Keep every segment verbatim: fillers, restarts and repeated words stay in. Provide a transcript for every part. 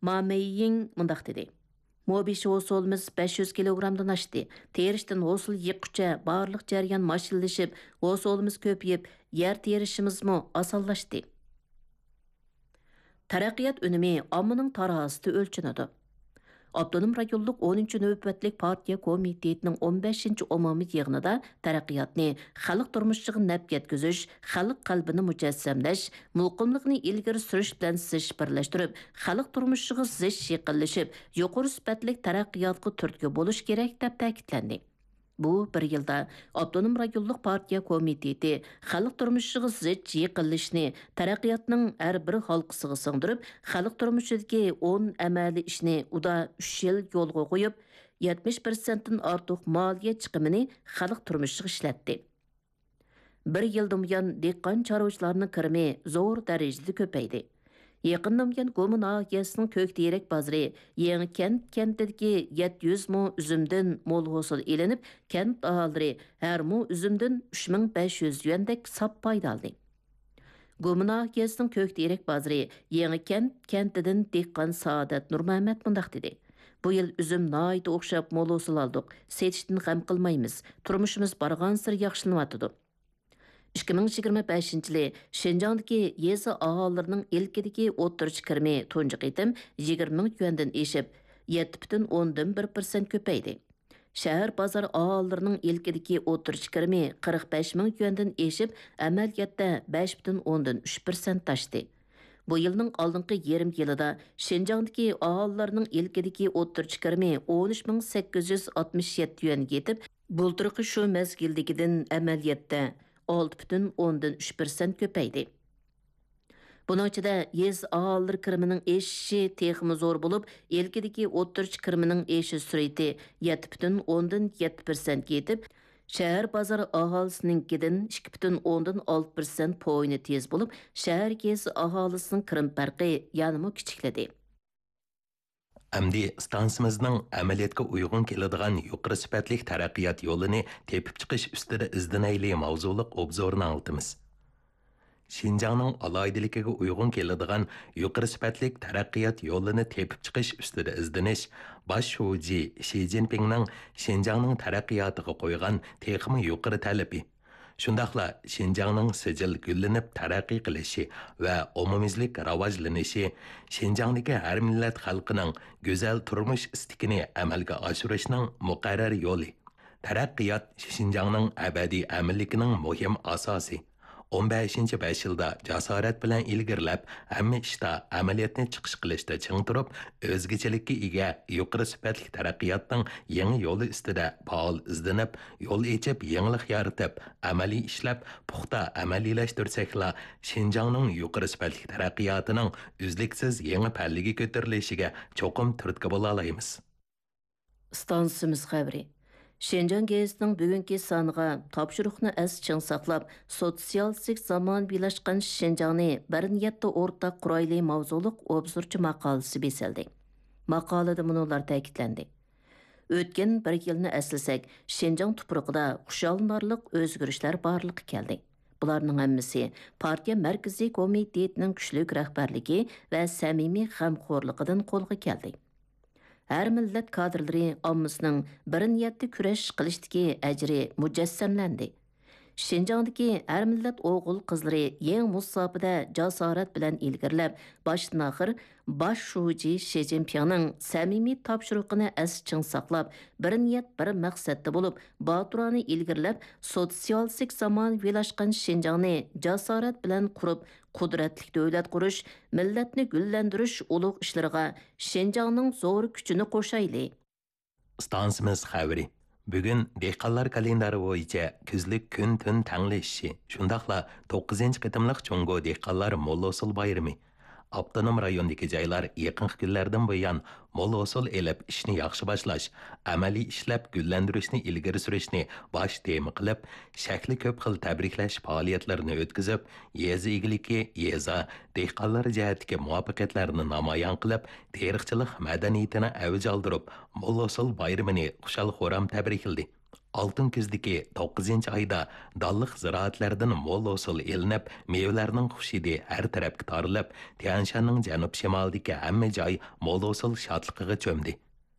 ما مېييىڭ مۇنداق دېدى: مو بېشى ھوسۇلىمىز بەش يۈز كىلوگرامدىن ئاشتى. تېرىشتىن ھوسۇل يىغقۇچە بارلىق جەريان ماشىنىلىشىپ، ھوسۇلىمىز كۆپىيىپ، يەر تېرىشىمىزمۇ ئاسانلاشتى. تەرەققىيات ئۈنۈمى ئاممىنىڭ تارازىسىدا ئۆلچىنىدۇ. ئاپتونوم رايونلۇق ئونىنچى نۆۋەتلىك پارتىيە كومىتېتىنىڭ ئون بەشىنچى ئومۇمىي يىغىنىدا تەرەققىياتنى خەلق تۇرمۇشىغا نەپ يەتكۈزۈش، خەلق قەلبىنى مۇجەسسەملەش، مۇقىملىقنى ئىلگىرى سۈرۈش بىلەن سىجىش بىرلەشتۈرۈپ، خەلق تۇرمۇشىغا زىچ يېقىنلىشىپ، يۇقىرى سۈپەتلىك تەرەققىياتقا تۈرتكە بولۇش كېرەك، دەپ تەكىتلەندى. بۇ بىر يىلدا ئاپتونوم رايونلۇق پارتىيە كومىتېتى خەلق تۇرمۇشىغا زىچ يېقىنلىشىشنى تەرەققىياتنىڭ ھەر بىر ھالقىسىغا سىڭدۈرۈپ، خەلق تۇرمۇشىدىكى ئون ئەمەلىي ئىشنى ئۇدا ئۈچ يىل يولغا قويۇپ، يەتمىش پىرسەنتتىن ئارتۇق مالىيە چىقىمىنى خەلق تۇرمۇشىغا ئىشلەتتى. بىر يىلدىن بۇيان دېھقان چارۋىچىلارنىڭ كىرىمى زور دەرىجىدە كۆپەيدى. يېقىندىن بۇيان گۇما ناھىيەسىنىڭ كۆكتېرەك بازىرى يېڭىكەنت كەنتىدىكى يەتتە يۈز مو ئۈزۈمدىن مول ھوسۇل ئېلىنىپ، كەنت ئاھالىلىرى ھەر مو ئۈزۈمدىن ئۈچ مىڭ بەش يۈز يۈەندەك ساپ پايدا ئالدى. گۇما ناھىيەسىنىڭ كۆكتېرەك بازىرى يېڭىكەنت كەنتىدىن دېھقان سائادەت نۇرمەمەت مۇنداق دېدى: بۇ يىل ئۈزۈم ناھايىتى ئوخشاپ مول ھوسۇل ئالدۇق، سېتىشتىن غەم قىلمايمىز، تۇرمۇشىمىز بارغانسېرى ياخشىلىنىۋاتىدۇ. ئىككى مىڭ يىگىرمە بەشىنچى يىلى شىنجاڭدىكى يېزا ئاھالىلىرىنىڭ ئىلكىدىكى ئوتتۇرىچە كىرىمى تۇنجى قېتىم يىگىرمە مىڭ يۈەندىن ئېشىپ، يەتتە پۈتۈن ئوندىن بىر پىرسەنت كۆپەيدى. شەھەر بازار ئاھالىلىرىنىڭ ئىلكىدىكى ئوتتۇرىچە كىرىمى قىرىق بەش مىڭ يۈەندىن ئېشىپ، ئەمەلىيەتتە بەش پۈتۈن ئوندىن ئۈچ پىرسەنت ئاشتى. بۇ يىلنىڭ ئالدىنقى يېرىم يىلىدا شىنجاڭدىكى ئاھالىلەرنىڭ ئىلكىدىكى ئوتتۇرىچە كىرىمى ئون ئۈچ مىڭ سەككىز يۈز ئاتمىش يەتتە يۈەنگە يېتىپ، بۇلتۇرقى شۇ مەزگىلدىكىدىن ئەمەلىيەتتە ئالتە پۈتۈن ئوندىن ئۈچ پىرسەنت كۆپەيدى. بۇنىڭ ئىچىدە يېزا ئاھالىلىرى كىرىمىنىڭ ئېشىشى تېخىمۇ زور بولۇپ، ئىلكىدىكى ئوتتۇرىچە كىرىمىنىڭ ئېشىش سۈرئىتى يەتتە پۈتۈن ئوندىن يەتتە پىرسەنتكە يېتىپ، شەھەر بازار ئاھالىسىنىڭكىدىن ئىككى پۈتۈن ئوندىن ئالتە پىرسەنت پوينى تېز بولۇپ، شەھەر يېزا ئاھالىسىنىڭ كىرىم پەرقى يەنىمۇ كىچىكلىدى. ئەمدى ئىستانسىمىزنىڭ ئەمەلىيەتكە ئۇيغۇن كېلىدىغان يۇقىرى سۈپەتلىك تەرەققىيات يولىنى تېپىپ چىقىش ئۈستىدە ئىزدىنەيلى ماۋزۇلۇق ئوبزورنى ئاڭلىتىمىز. شىنجاڭنىڭ ئالاھىدىلىكىگە ئۇيغۇن كېلىدىغان يۇقىرى سۈپەتلىك تەرەققىيات يولىنى تېپىپ چىقىش ئۈستىدە ئىزدىنىش باش شۇجى شى جىنپىڭنىڭ شىنجاڭنىڭ تەرەققىياتىغا قويغان تېخىمۇ يۇقىرى تەلىپى. شۇنداقلا شىنجاڭنىڭ سىجىل گۈللىنىپ تەرەققىي قىلىشى ۋە ئومۇميۈزلۈك راۋاجلىنىشى شىنجاڭدىكى ھەر مىللەت خەلقىنىڭ گۈزەل تۇرمۇش ئىستىكىنى ئەمەلگە ئاشۇرۇشنىڭ مۇقەررەر يولى. تەرەققىيات شىنجاڭنىڭ ئەبەدىي ئەمىنلىكىنىڭ مۇھىم ئاساسى. ئون بەشىنچى بەش يىلدا جاسارەت بىلەن ئىلگىرىلەپ، ھەممە ئىشتا ئەمەلىيەتنى چىقىش قىلىشتا چىڭ تۇرۇپ، ئۆزگىچىلىككە ئىگە يۇقىرى سۈپەتلىك تەرەققىياتنىڭ يېڭى يولى ئۈستىدە پائال ئىزدىنىپ، يول ئېچىپ، يېڭىلىق يارىتىپ، ئەمەلىي ئىشلەپ، پۇختا ئەمەلىيلەشتۈرسەكلا، شىنجاڭنىڭ يۇقىرى سۈپەتلىك تەرەققىياتىنىڭ ئۈزلۈكسىز يېڭى پەللىگە كۆتۈرۈلۈشىگە چوقۇم تۈرتكە بولالايمىز. ئىستانسىمىز خەۋىرى. شىنجاڭ گېزىتىنىڭ بۈگۈنكى سانىغا تاپشۇرۇقنى ئەستە چىڭ ساقلاپ، سوتسىيالىستىك زامانىۋىلاشقان شىنجاڭنى بىر نىيەتتە ئورتاق قۇرايلى ماۋزۇلۇق ئوبزورچى ماقالىسى بېسىلدى. ماقالىدە مۇنۇلار تەكىتلەندى: ئۆتكەن بىر يىلنى ئەسلىسەك، شىنجاڭ تۇپرىقىدا خۇشاللىنارلىق ئۆزگىرىشلەر بارلىققا كەلدى. بۇلارنىڭ ھەممىسى پارتىيە مەركىزىي كومىتېتىنىڭ كۈچلۈك رەھبەرلىكى ۋە سەمىمىي غەمخورلۇقىدىن قولغا كەلدى. ھەر مىللەت كادىرلىرى ئاممىسىنىڭ بىر نىيەتتە كۈرەش قىلىشتىكى ئەجرى مۇجەسسەملەندى. شىنجاڭدىكى ھەر مىللەت ئوغۇل-قىزلىرى يېڭى مۇساپىدە جاسارەت بىلەن ئىلگىرىلەپ، باشتىن-ئاخىر باش شۇجى شى جىنپىڭنىڭ سەمىمىي تاپشۇرۇقىنى ئەستە چىڭ ساقلاپ، بىر نىيەت، بىر مەقسەتتە بولۇپ، باتۇرانە ئىلگىرىلەپ، سوتسىيالىستىك زامانىۋىلاشقان شىنجاڭنى جاسارەت بىلەن قۇرۇپ، قۇدرەتلىك دۆلەت قۇرۇش، مىللەتنى گۈللەندۈرۈش ئۇلۇغ ئىشلىرىغا شىنجاڭنىڭ زور كۈچىنى قوشايلى. ئىستانسىمىز خەۋىرى. بۈگۈن دېھقانلار كالېندارى بويىچە كۈزلۈك كۈن-تۈن تەڭلىشىشى، شۇنداقلا توققۇزىنچى قېتىملىق جۇڭگو دېھقانلار مول ھوسۇل بايرىمى. ئاپتونوم رايوندىكى جايلار يېقىنقى كۈنلەردىن بۇيان مول ھوسۇل ئېلىپ، ئىشنى ياخشى باشلاش، ئەمەلىي ئىشلەپ گۈللەندۈرۈشنى ئىلگىرى سۈرۈشنى باش تېما قىلىپ، شەكلى كۆپ خىل تەبرىكلەش پائالىيەتلىرىنى ئۆتكۈزۈپ، يېزا ئىگىلىكى، يېزا، دېھقانلار جەھەتتىكى مۇۋەپپەقىيەتلەرنى نامايان قىلىپ، تېرىقچىلىق مەدەنىيىتىنى ئەۋج ئالدۇرۇپ، مول ھوسۇل بايرىمىنى خۇشال-خۇرام تەبرىكلىدى. ئالتۇن كۈزدىكى توققۇزىنچى ئايدا دانلىق زىرائەتلەردىن مول ھوسۇل ئېلىنىپ، مېۋىلەرنىڭ خۇش ھىدى ھەر تەرەپكە تارىلىپ، تيەنشاننىڭ جەنۇب-شىمالىدىكى ھەممە جاي مول ھوسۇل شادلىقىغا چۆمدى.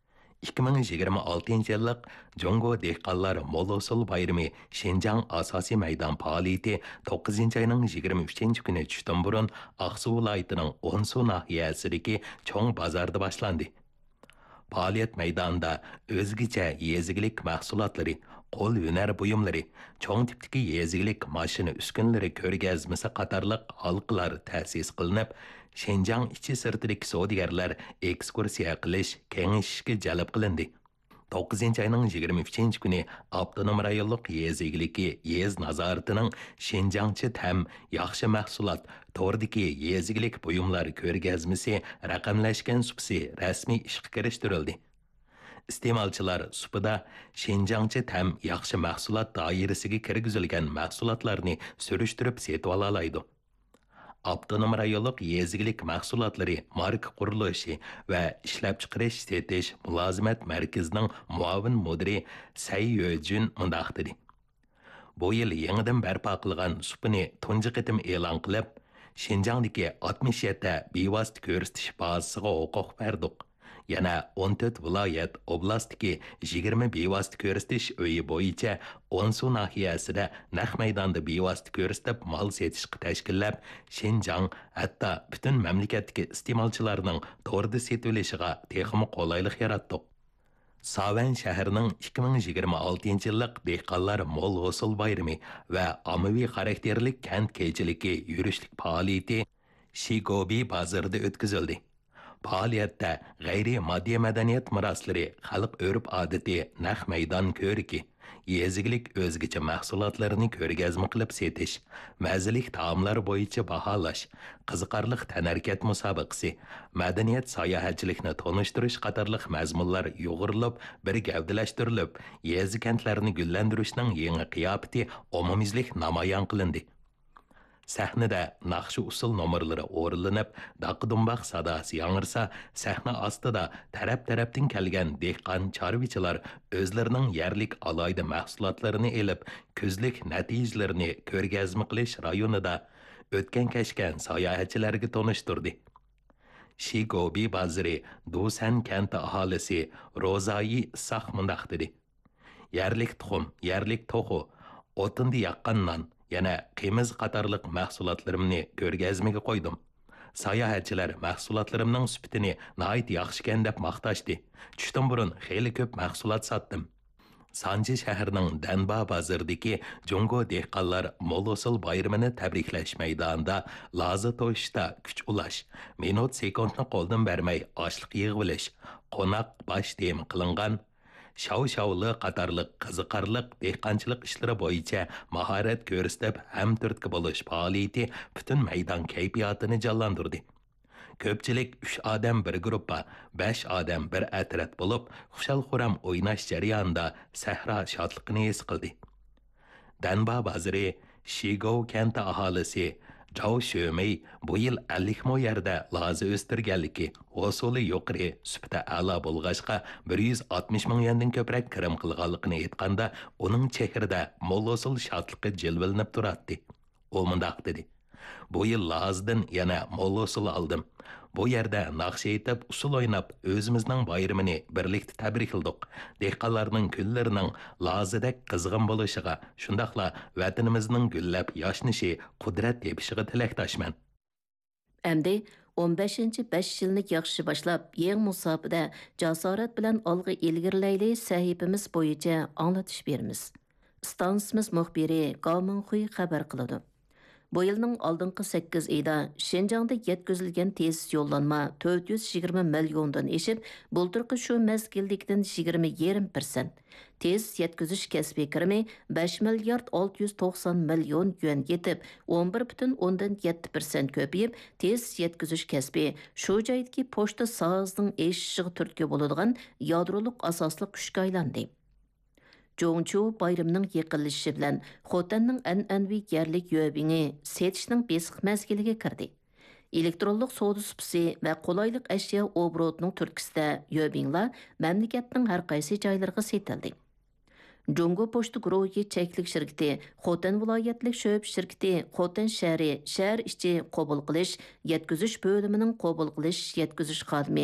ئىككى مىڭ يىگىرمە ئالتىنچى يىللىق جۇڭگو دېھقانلار مول ھوسۇل بايرىمى شىنجاڭ ئاساسىي مەيدان پائالىيىتى توققۇزىنچى ئاينىڭ يىگىرمە ئۈچىنچى كۈنى چۈشتىن بۇرۇن ئاقسۇ ۋىلايىتىنىڭ ئونسۇ ناھىيەسىدىكى چوڭ بازاردا باشلاندى. پائالىيەت مەيدانىدا ئۆزگىچە يېزا ئىگىلىك مەھسۇلاتلىرى، قول ھۈنەر بۇيۇملىرى، چوڭ تىپتىكى يېزا ئىگىلىك ماشىنا ئۈسكۈنىلىرى كۆرگەزمىسى قاتارلىق ھالقىلار تەسىس قىلىنىپ، شىنجاڭ ئىچى سىرتىدىكى سودىگەرلەر ئېكسكۇرسىيە قىلىش، كېڭىشىشكە جەلپ قىلىندى. توققۇزىنچى ئاينىڭ يىگىرمە ئۈچىنچى كۈنى ئاپتونوم رايونلۇق يېزا ئىگىلىكى يېزا نازارىتىنىڭ شىنجاڭچە تەم، ياخشى مەھسۇلات توردىكى يېزا ئىگىلىك بۇيۇملار كۆرگەزمىسى رەقەملەشكەن سۇپىسى رەسمىي ئىشقا كىرىشتۈرۈلدى. ئىستېمالچىلار سۇپىدا شىنجاڭچە تەم، ياخشى مەھسۇلات دائىرىسىگە كىرگۈزۈلگەن مەھسۇلاتلارنى سۈرۈشتۈرۈپ سېتىۋالالايدۇ. ئاپتونوم رايونلۇق يېزا ئىگىلىك مەھسۇلاتلىرى ماركا قۇرۇلۇشى ۋە ئىشلەپچىقىرىش سېتىش مۇلازىمەت مەركىزىنىڭ مۇئاۋىن مۇدىرى سەي يۆجۈن مۇنداق دېدى: بۇ يىل يېڭىدىن بەرپا قىلغان سۇپىنى تۇنجى قېتىم ئېلان قىلىپ، شىنجاڭدىكى ئاتمىش يەتتە بىۋاسىتە كۆرسىتىش بازىسىغا ھوقۇق بەردۇق. يەنە ئون تۆت ۋىلايەت، ئوبلاستتىكى يىگىرمە بىۋاسىتە كۆرسىتىش ئۆيى بويىچە ئونسۇ ناھىيەسىدە نەق مەيداندا بىۋاسىتە كۆرسىتىپ مال سېتىشقا تەشكىللەپ، شىنجاڭ، ھەتتا پۈتۈن مەملىكەتتىكى ئىستېمالچىلارنىڭ توردا سېتىۋېلىشىغا تېخىمۇ قولايلىق ياراتتۇق. ساۋەن شەھىرىنىڭ ئىككى مىڭ يىگىرمە ئالتىنچى يىللىق دېھقانلار مول ھوسۇل بايرىمى ۋە ئاممىۋى خاراكتېرلىك كەنت كېچىلىكى يۈرۈشلۈك پائالىيىتى شىگوبى بازىرىدا ئۆتكۈزۈلدى. پائالىيەتتە غەيرىي ماددىي مەدەنىيەت مىراسلىرى، خەلق ئۆرپ-ئادىتى، نەق مەيدان كۆرىكى، يېزا ئىگىلىك ئۆزگىچە مەھسۇلاتلىرىنى كۆرگەزمە قىلىپ سېتىش، مەززىلىك تائاملار بويىچە باھالاش، قىزىقارلىق تەنھەرىكەت مۇسابىقىسى، مەدەنىيەت ساياھەتچىلىكنى تونۇشتۇرۇش قاتارلىق مەزمۇنلار يۇغۇرۇلۇپ، بىر گەۋدىلەشتۈرۈلۈپ، يېزا-كەنتلەرنى گۈللەندۈرۈشنىڭ يېڭى قىياپىتى ئومۇميۈزلۈك نامايان قىلىندى. سەھنىدە ناخشا-ئۇسسۇل نومۇرلىرى ئورۇنلىنىپ، داققا-دۇمباق ساداسى ياڭرىسا، سەھنە ئاستىدا تەرەپ-تەرەپتىن كەلگەن دېھقان، چارۋىچىلار ئۆزلىرىنىڭ يەرلىك ئالاھىدە مەھسۇلاتلىرىنى ئېلىپ، كۈزلۈك نەتىجىلىرىنى كۆرگەزمە قىلىش رايونىدا ئۆتكەن-كەچكەن ساياھەتچىلەرگە تونۇشتۇردى. شىگوبى بازىرى دۇسەن كەنتى ئاھالىسى روزايى ئىسساق مۇنداق دېدى: يەرلىك تۇخۇم، يەرلىك توخۇ، ئوتۇندا ياققان نان، يەنە قىمىز قاتارلىق مەھسۇلاتلىرىمنى كۆرگەزمىگە قويدۇم. ساياھەتچىلەر مەھسۇلاتلىرىمنىڭ سۈپىتىنى ناھايىتى ياخشىكەن دەپ ماختاشتى. چۈشتىن بۇرۇن خېلى كۆپ مەھسۇلات ساتتىم. سانجى شەھىرىنىڭ دەنبا بازىرىدىكى جۇڭگو دېھقانلار مول ھوسۇل بايرىمىنى تەبرىكلەش مەيدانىدا لازا توشۇشتا كۈچ ئۇلاش، مىنۇت سېكۇنتنى قولدىن بەرمەي ئاشلىق يىغىۋېلىش، قوناق باش تېما قىلىنغان شاۋ-شاۋلى قاتارلىق قىزىقارلىق دېھقانچىلىق ئىشلىرى بويىچە ماھارەت كۆرسىتىپ، ھەمتۈرتكە بولۇش پائالىيىتى پۈتۈن مەيدان كەيپىياتىنى جانلاندۇردى. كۆپچىلىك ئۈچ ئادەم بىر گۇرۇپپا، بەش ئادەم بىر ئەترەت بولۇپ، خۇشال-خۇرام ئويناش جەريانىدا سەھرا شادلىقىنى ھېس قىلدى. دەنبا بازىرى شىگوۋ كەنتى ئاھالىسى جاۋ شۆمېي بۇ يىل ئەللىك مو يەردە لازا ئۆستۈرگەنلىكى، ھوسۇلى يۇقىرى، سۈپىتى ئەلا بولغاچقا، بىر يۈز ئاتمىش مىڭ يۈەندىن كۆپرەك كىرىم قىلغانلىقىنى ئېيتقاندا، ئۇنىڭ چېھرىدە مول ھوسۇل شادلىقى جىلۋىلىنىپ تۇراتتى. ئۇ مۇنداق دېدى: بۇ يىل لازىدىن يەنە مول ھوسۇل ئالدىم. بۇ يەردە ناخشا ئېيتىپ، ئۇسسۇل ئويناپ، ئۆزىمىزنىڭ بايرىمىنى بىرلىكتە تەبرىكلىدۇق. دېھقانلارنىڭ كۈنلىرىنىڭ لازىدەك قىزغىن بولۇشىغا، شۇنداقلا ۋەتىنىمىزنىڭ گۈللەپ ياشنىشى، قۇدرەت تېپىشىغا تىلەكداشمەن. ئەمدى ئون بەشىنچى بەش يىلنى ياخشى باشلاپ، يېڭى مۇساپىدە جاسارەت بىلەن ئالغا ئىلگىرىلەيلى سەھىپىمىز بويىچە ئاڭلىتىش بېرىمىز. ئىستانسىمىز مۇخبىرى گاۋ مىڭخۇي خەۋەر قىلىدۇ. بۇ يىلنىڭ ئالدىنقى سەككىز ئېيىدا شىنجاڭدا يەتكۈزۈلگەن تېزىس يوللانما تۆت يۈز يىگىرمە مىليوندىن ئېشىپ، بۇلتۇرقى شۇ مەزگىلدىكىدىن يىگىرمە يېرىم پىرسەنت، تېزىس يەتكۈزۈش كەسپىي كىرىمى بەش مىليارد ئالتە يۈز توقسان مىليون يۈەن يېتىپ، ئون بىر پۈتۈن ئوندىن يەتتە پىرسەنت كۆپىيىپ، تېزىس يەتكۈزۈش كەسپى شۇ جايدىكى پوچتا ساھەسىنىڭ ئېشىشىغا تۈرتكە بولىدىغان يادرولۇق ئاساسلىق كۈچكە ئايلاندى. جۇڭچۇ بايرىمىنىڭ يېقىنلىشىشى بىلەن خوتەننىڭ ئەنئەنىۋى يەرلىك يۆبىڭى سېتىشنىڭ بېسىق مەزگىلىگە كىردى. ئېلېكترونلۇق سودا سۇپىسى ۋە قولايلىق ئەشيا ئوبوروتىنىڭ تۈرتكىسىدە يۆبىڭلار مەملىكەتنىڭ ھەر قايسى جايلىرىغا سېتىلدى. جۇڭگو پوچتا گۇرۇھى چەكلىك شىركىتى، خوتەن ۋىلايەتلىك شۆبە شىركىتى، خوتەن شەھىرى شەھەر ئىچى قوبۇل قىلىش، يەتكۈزۈش بۆلۈمىنىڭ قوبۇل قىلىش، يەتكۈزۈش خادىمى،